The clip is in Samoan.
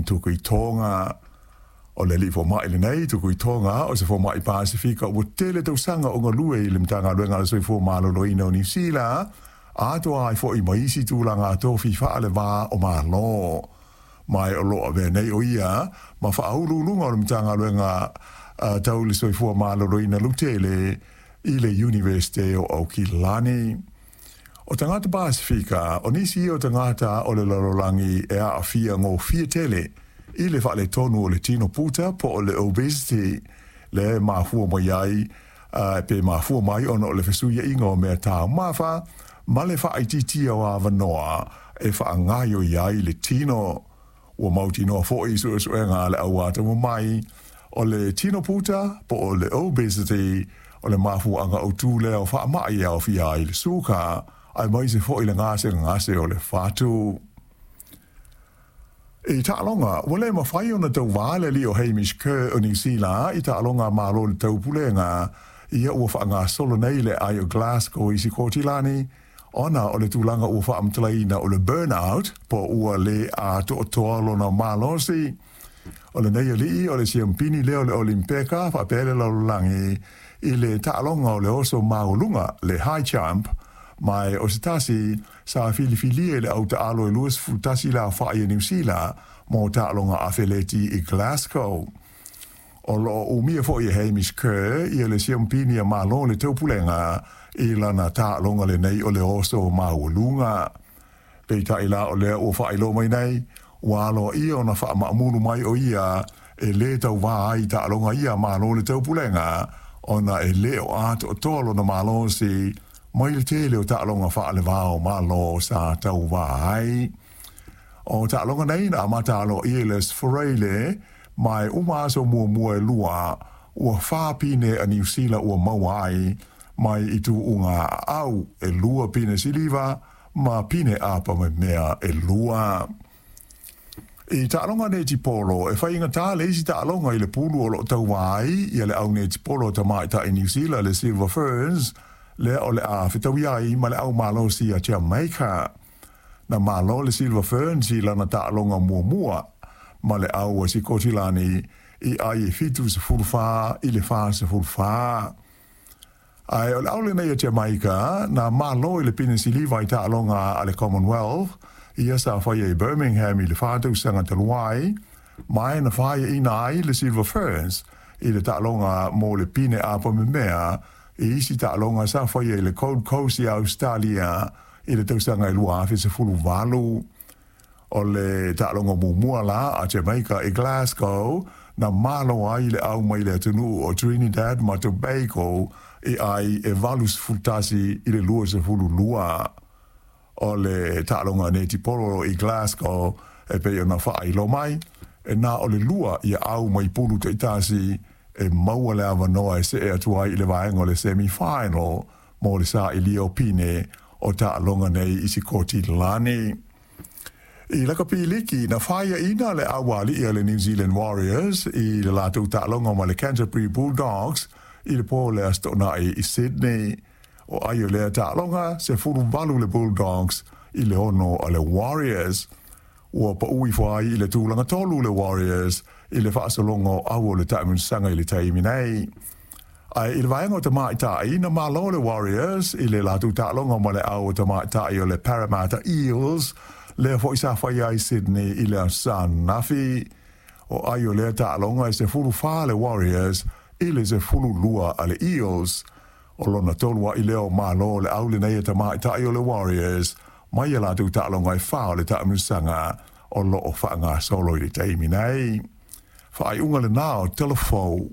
Tukuitoga. O le alii fomai lenei Tukuitoga o se fomai Pasefika ua tele tausaga o galue i le Matagaluega a le Soifua Maloloina o Niu Sila, atoa ai foi ma isi tulaga tofi faaleva o Malo. Ma o lo o avea nei o ia ma faauluuluga o le Matagaluega tau le Soifua Maloloina lautele i le Iunivesite o Aukilani. O tagata Pasefika, o nisi ia o tagata o le lalolagi e aafia gofie tele i le faaletonu o le tino puta po o le obesity, le mafua mai ai pe mafua mai ona o le fesuiaiga o mea taumafa ma le faaitiitia o avanoa e faagaoioi ai le tino. Ua mautinoa foi i suesuega a le au atamamai, o le tino puta po o le obesity o le mafuaaga autu lea o faamai e aofia ai le suka, aemaise foi le gasegase o le fatu. I taaloga, ua le mafai ona tauvā le alii o Hamish Kerr o Niu Sila i taaloga a Malo o le Taupulega ia ua faagasolo nei i le aai o Glasgow i Sikotilani, ona o le tulaga ua faamatalaina o le burnout po ua le atoatoa lona malosi. O lenei alii o le siampini lea o le Olimpeka faapea le lalolagi i le taaloga o le oso maualuga, le high jump, ma o se tasi sa filifilia i le au taalo e 21 le aofai a Niu Sila mo taaloga afeleti i Glasgow. O lo o umia foi e Hamish Kerr ia le siampini a Malo o le Taupulega i lana taaloga lenei o le oso maualuga. Peitai la o lea ua faailoa mai nei, ua aloaia ona faamaamulu mai o ia e lē tauvā ai i taaloga ia a Malo o le Taupulega, ona e le o atoatoa lona malosi mai le tele o taaloga faalevao o Malo sa tauvā ai. O taaloga nei na amata aloaia i le Aso Faraile, ma e uma aso muamua e lua, ua 4 pine a Niu Sila ua maua ai mai i tuuga aau, e 2 pine siliva ma pine apa memea e 2. I taaloga netipolo, e faigatā le isi taaloga i le pulu o lo o tauvā ai ia le au netipolo a tamaitai Niu Sila le Silver Ferns, lea o le a fetaui ai ma le au malosi a Jamaica. Na malo le Silver Ferns i lana taaloga muamua ma le au a Sikotilani i ai e 74-44. Ae o le au lenei a Jamaica na malo i le pine siliva i taaloga a le Commonwealth ia sa faia i Birmingham i le 4 tausaga talu ai, ma e na faiaina ai le Silver Ferns i le taaloga mo le pine apa memea i isi taaloga sa faia i le Gold Coast i Australia i le tausaga e 2018. O le taaloga muamua la a Jamaica i Glasgow na malo ai le au mai le atunuu o Trinidad ma Tobago i ai e 81-22. O le taaloga netipolo i Glasgow e pei ona faailoa mai, e na o le 2 ia au mai pulu taitasi e maua le avanoa e see atu ai i le vaega o le semi-final mo le sailia o pine o taaloga nei i Sikotilani. I lakapi liki, na faiaina le auali'i a le New Zealand Warriors i le latou taaloga ma le Canterbury Bulldogs i le po o le Aso Toonai i Sydney. O ai o lea taaloga, 18 le Bulldogs i le 6 a le Warriors. Ua paui ifo ai i le tulaga 3 le Warriors i le faasologa o au o le taamilosaga i le taimi nei. Ae i le vaega o tamaitai, na malo le Warriors i le latou taaloga ma le au o tamaitai o le Parramatta Eels, lea foi sa faia ai Sydney i le Aso Ananafi. O ai o lea taaloga e 14 le Warriors i le 12 a le Eels. O lona tolu ai lea o malo o le au lenei a tamaitai o le Warriors mai ia latou taaloga e 4 o le taamilosaga o lo o faagasolo i le taimi nei. Faaiuga lenā o Tala Fou.